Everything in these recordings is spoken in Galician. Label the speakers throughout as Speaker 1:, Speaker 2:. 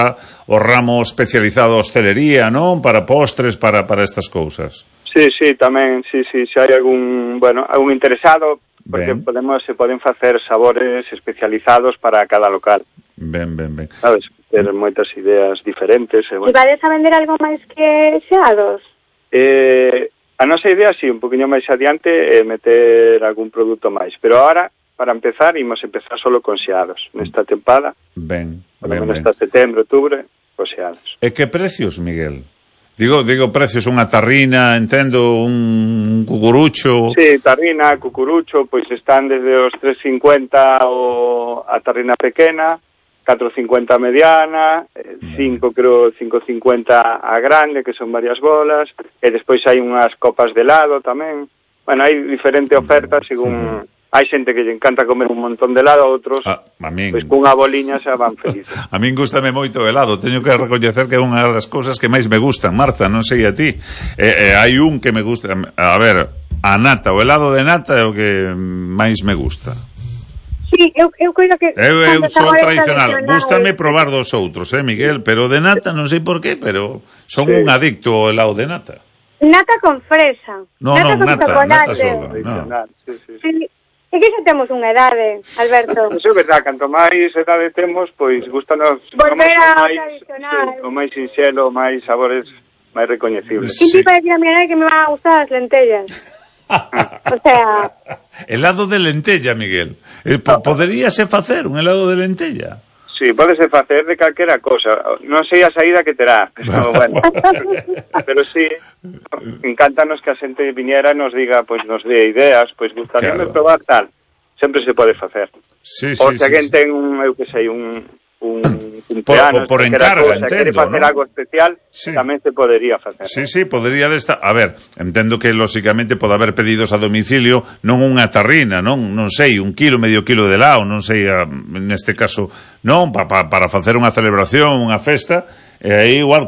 Speaker 1: está o ramo especializado hostelería, non? Para postres, para estas cousas.
Speaker 2: Sí, tamén, se hai algún interesado, porque se poden facer sabores especializados para cada local.
Speaker 1: Ben.
Speaker 2: Sabes, ter moitas ideas diferentes.
Speaker 3: E vades a vender algo máis que xeados?
Speaker 2: A nosa idea, sí, un poquinho máis adiante, é meter algún produto máis. Pero ahora, para empezar, imos empezar solo con xeados. Nesta tempada, hasta setembro, outubro, con xeados.
Speaker 1: E que precios, Miguel? Digo precios, unha tarrina, entendo, un cucurucho...
Speaker 2: Sí, tarrina, cucurucho, pois están desde os 3,50 a tarrina pequena, 4,50 a mediana, 5,50 a grande, que son varias bolas, e despois hai unhas copas de helado tamén. Bueno, hai diferente oferta según... Hai xente que lle encanta comer un montón de helado, outros, pois cunha boliña xa van felices.
Speaker 1: A min gústame moito o helado, teño que recoñecer que é unha das cousas que máis me gustan, Marta, non sei a ti. Hai un que me gusta, a ver, a nata, o helado de nata é o que máis me gusta.
Speaker 3: Sí, eu creo que...
Speaker 1: Eu sou tradicional, gústame probar dos outros, Miguel, pero de nata non sei por qué, pero son un adicto ao helado de nata.
Speaker 3: Nata con fresa.
Speaker 1: Nata sola.
Speaker 3: Sí. E que xa temos unha edade, Alberto?
Speaker 2: Eso é verdad, canto máis edade temos, pois gustanos
Speaker 3: volver ao tradicional.
Speaker 2: O máis sinxelo, máis sabores máis recoñecibles.
Speaker 3: E ti para decir a mi edade que me van a gustar as lentellas. O sea...
Speaker 1: Helado de lentella, Miguel. Poderíase facer un helado de lentella?
Speaker 2: Sí, podese facer de calquera cosa. Non sei a saída que terá, pero bueno. Pero sí, encántanos que a xente viniera e nos diga, pois nos dé ideas, pois gustaríame probar tal. Sempre se pode facer. Ou se alguén ten eu que sei, un cumpleanos,
Speaker 1: por encarga, entendo,
Speaker 2: quere facer algo especial, tamén se podería facer.
Speaker 1: Sí, podería desta... A ver, entendo que, lóxicamente, pode haber pedidos a domicilio, non unha tarrina, non sei, 1 kilo, medio kilo de helado, non sei, neste caso, non, para facer unha celebración, unha festa, e aí igual...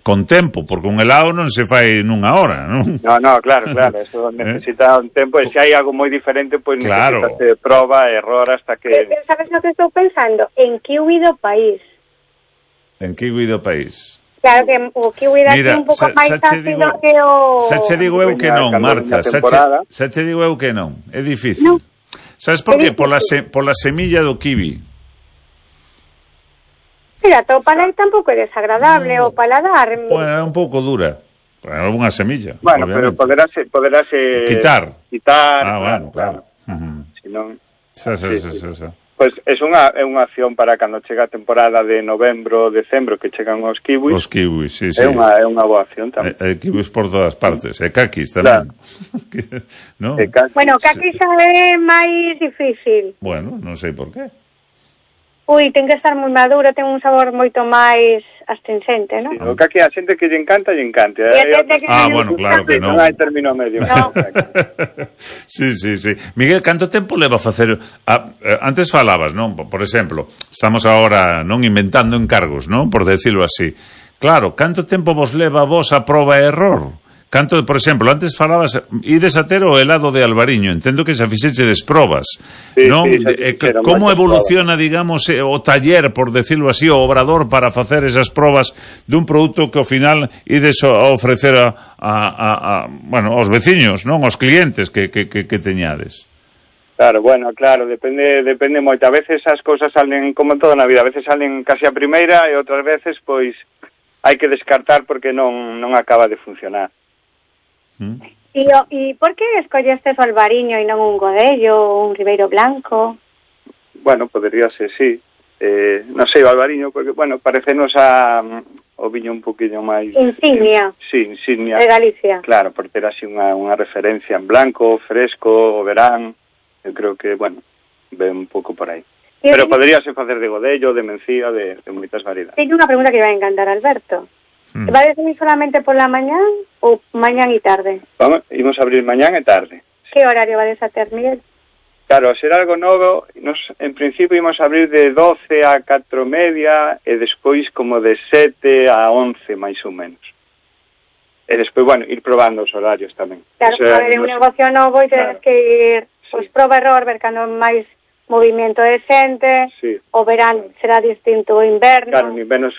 Speaker 1: con tempo, porque un helado non se fai nunha hora, non?
Speaker 2: No, claro, eso necesita un tempo, e se hai algo moi diferente, pois necesitas proba, error, hasta que...
Speaker 3: Sabes o que estou pensando? En kiwi do país.
Speaker 1: En kiwi do país.
Speaker 3: Claro que o kiwi dá un pouco máis ácido que o...
Speaker 1: Xa che digo eu que non, Marta, xa che digo eu que non, é difícil. Sabes por qué? Pola semilla do kiwi.
Speaker 3: Mira, o paladar tampouco é desagradable, o paladar...
Speaker 1: Bueno, é un pouco dura, é unha semilla.
Speaker 2: Bueno, pero poderase
Speaker 1: quitar.
Speaker 2: Bueno,
Speaker 1: claro.
Speaker 2: Si non...
Speaker 1: Pois
Speaker 2: é unha acción para cando chega a temporada de novembro, decembro, que chegan os kiwis.
Speaker 1: Os kiwis, sí.
Speaker 2: É unha boa acción tamén.
Speaker 1: Hai kiwis por todas partes, e kakis tamén.
Speaker 2: ¿No?
Speaker 3: Bueno, kakis é máis difícil.
Speaker 1: Bueno, non sei por qué.
Speaker 3: Ui, ten que estar moi maduro, ten un sabor moito máis astringente, non?
Speaker 2: O que a xente que lle encanta, lle encanta.
Speaker 1: Bueno, claro que non.
Speaker 2: Non hai término medio.
Speaker 3: No.
Speaker 1: Sí. Miguel, canto tempo leva a facer... antes falabas, non? Por exemplo, estamos agora non inventando encargos, non? Por decirlo así. Claro, canto tempo vos leva vos a proba e error? Canto, por exemplo, antes falabas, ides a ter o helado de Albariño, entendo que xa fixeches probas, non? Como evoluciona, digamos, o taller, por decirlo así, o obrador para facer esas probas dun produto que ao final ides a ofrecer aos veciños, non? Aos clientes que teñades.
Speaker 2: Claro, depende moito. A veces as cousas salen, como toda na vida, a veces salen casi a primeira e outras veces, pois, hai que descartar porque non acaba de funcionar.
Speaker 3: E por que escollestes o Albariño e non un Godello ou un Ribeiro Blanco?
Speaker 2: Bueno, podería ser, sí. Non sei, o Albariño, porque, parecenos o viño un poquinho máis...
Speaker 3: Insignia.
Speaker 2: Sí, insignia.
Speaker 3: De Galicia.
Speaker 2: Claro, por ter así unha referencia en blanco, fresco, o verán. Eu creo que, ve un pouco por aí. Pero poderíase facer de Godello, de Mencía, de moitas variedades.
Speaker 3: Teño unha pregunta que vai a encantar, Alberto. ¿Va a ser solamente por la mañán ou mañán e tarde?
Speaker 2: Vamos, imos abrir mañán e tarde.
Speaker 3: Que horario va a ter, Miguel?
Speaker 2: Claro, a ser algo novo, en principio imos abrir de 12 a 4:30 e despois como de 7 a 11, máis ou menos. E despois, ir probando os horarios tamén.
Speaker 3: Claro, a ver, un negocio novo e tens que ir, proba error, ver cando máis movimento de xente, o verán será distinto o inverno.
Speaker 2: Claro, en inverno